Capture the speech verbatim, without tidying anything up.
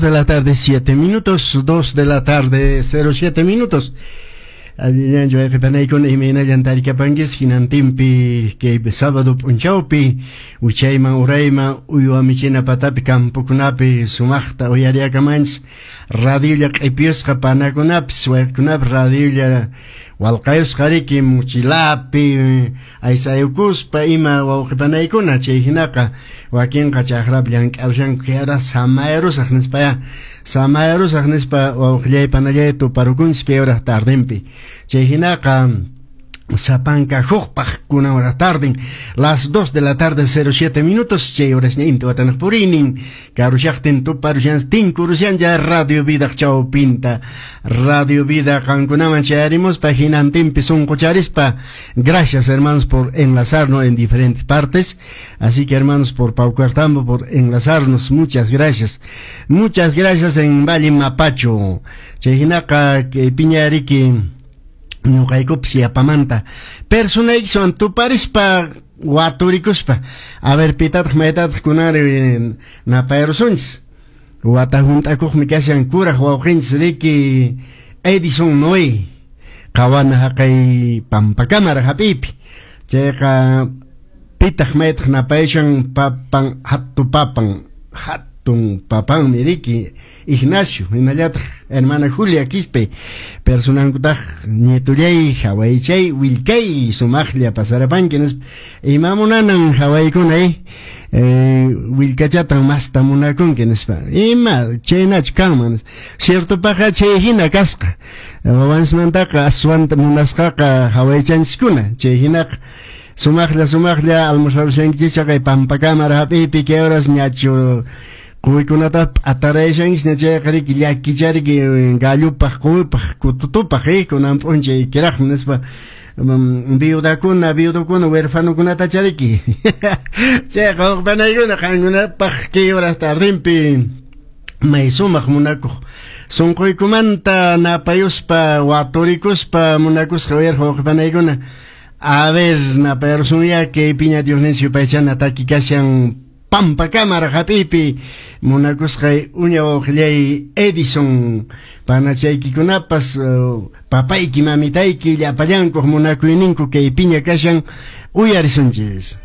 Dos de la tarde, siete minutos. Dos de la tarde, cero siete minutos. Allillanchu wayqipanaykuna, imaynallan tarikapanchis hinantinpi kay sábado p'unchawpi, wichayman urayman, uywa michina patapi, campokunapi sumaqta uyariakamanchis radiolla q'ipiyusqa panakunapis wayqikunapi radiolla walqayusqa riki mochilapi aysayukuspa ima wawqipanaykuna. Chay hinaqa wakinqa chakrapi llank'arushanku kay samayarusaq nispaya, samayarusaq nispa wawqillay panallay tuparukunchis kay hora tardenpi. Chay hinaqa sapanka hukpaq kunan hora tarden, las dos de la tarde cero siete minutos, chay horasña inti watanaq puriynin karushaqtin tuparushan tinkurushan ya Radio Vida chawpinta. Radio Vida qankunaman chayarimuspa hinantinpi sunqucharispa. Gracias, hermanos, por enlazarnos en diferentes partes, así que, hermanos, por Paucartambo, por enlazarnos, muchas gracias, muchas gracias en Valle Mapacho. Chay hinaqa kay piñariki ñuqaykupas yapamanta personaykiwan tuparispa waturikuspa, a ver, pitataq maytataq kunari napayrusunchis. Wata hunt'akuqmi kashan kuraq wawqinchis riki Edison Noé qawana haqay Pampakamara hap'iypi. Chayqa pitaq maytaq napayashan papan, hatu papan, hatun papanmi riki Ignacio, hinallataq hermana Julia Quispe personankutaq nietullay hawaychay willkay sumaqlla pasarapanki nispa. Ima munanan hawaykuna eh willkachatan masta munakunki nispa, ima chaynachu kanman? Ciertopaqa chay hina kasqa, wawansmantaqa aswanta munasqaqa hawaychanchiskuna. Chay hinaqa sumaqlla sumaqlla almorzarushankichis chaqay Pampakamara hap'iypi kay horas ñachu quwikunata p'atarayashankichis chayqa riki llakichariki gallupaq quwipaq kututupaq eh kunan p'unchay kiraqmi nispa viudakuna, viudukuna, huerfanokunata chariki. Chayqa wawqipanaykuna qankunapaq kay horas tardinpi may sumaq munakuq sunquykumanta napayuspa waturikuspa munakusqa uyarqa wawqipanaykuna. A ver, napayarusunya kay piña Diosninchis yupaychana taki kashan Pampakamara hap'iypi munakusqay uña wawqillay Edison, panachaykikunapas papayki mamitayki llapallankuq munakuyninku kay piña kashan, uyarisunchis.